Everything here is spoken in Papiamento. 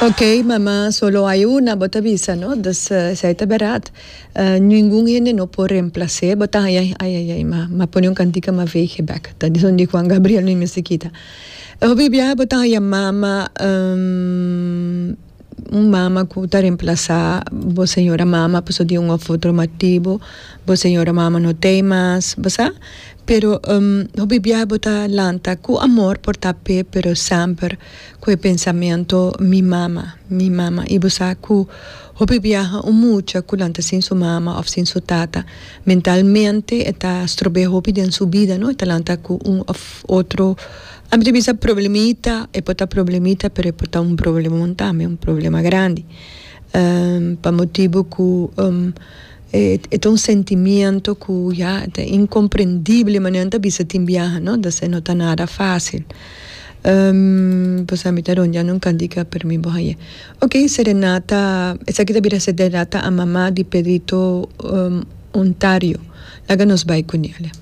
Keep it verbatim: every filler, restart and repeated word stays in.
Ok, mama solo hay una, bo ta bisa, no? Dus uh, esey ta berdad. Uh, ningun hende no por reemplasa, bo ta ay ay ay ay, m'a m'a pone un cantica m'a veeg bek. Ta di Juan Gabriel ni musiquita. Hopi biaha bo ta haya mama um, un mama cu ta reemplasa bo señora mama paso di un of otro motibo, bo señora mama no tin mas, bo sa? Pero um, hopi biaha bo ta lanta cu amor por ta pe, pero semper cu e pensamento mi mama, mi mama. Y bo sa cu hopi biaha un mucha cu lanta sin su mama of sin su tata, mentalmente ta strobe hopi den su bida, no? Ta lanta cu un of otro ami ta bisa problemita, e por ta problemita, pero e por ta un problema tambe, un problema grandi. Um, pa motibo cu um, e, e un sentimento cu ya ta incomprendibel, mas no ta bisa tin biaha, no? Dus no ta nada facil. Um, pues ami ta rondia un cantica per mi bo haye. Ok, serenata, esaki ta bira serenata a mama di Pedrito um, Ontario. Laga nos bay cu ne.